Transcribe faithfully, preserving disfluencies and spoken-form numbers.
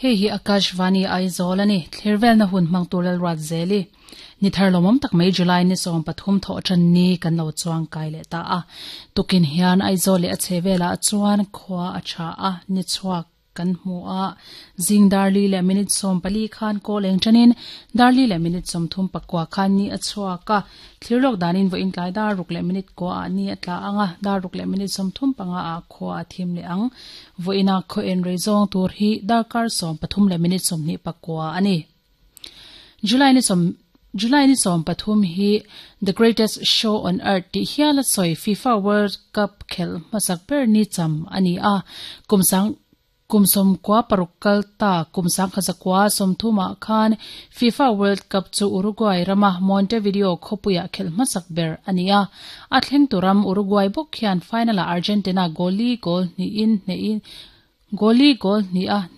Hei hi Akashvani Aizawl ani thlirvel na hun hmang tur lalruat zeli ni thar lomom tak mai July ni som pathum tho than ni kan lo chuang kai le ta a tukin hian Aizawl le a chhevela chuan khwa a tha a ni chuak kan hmu a zing darli le minute som pali khan ko leng thanin darli le minute som thum pakwa khan ni a chuaka thlirlok danin vo in tlai dar ruk le minute ko a ni atla anga dar ruk le minute som thum panga a kho a thim le ang vo ina kho en rezong tur hi darkar som pathum le minute som ni pakwa ani July ni som July ni som pathum hi The Greatest Show on Earth ti hiala soi FIFA World Cup khel masak ber ni cham ani a kumsang kumsom kwa parukal ta kumsang khazakwa somthuma khan FIFA World Cup chu Uruguay rama Montevideo khopuya khel masak ber ania a thleng turam Uruguay bok khian final Argentina goli goal ni in ne in goli goal ni a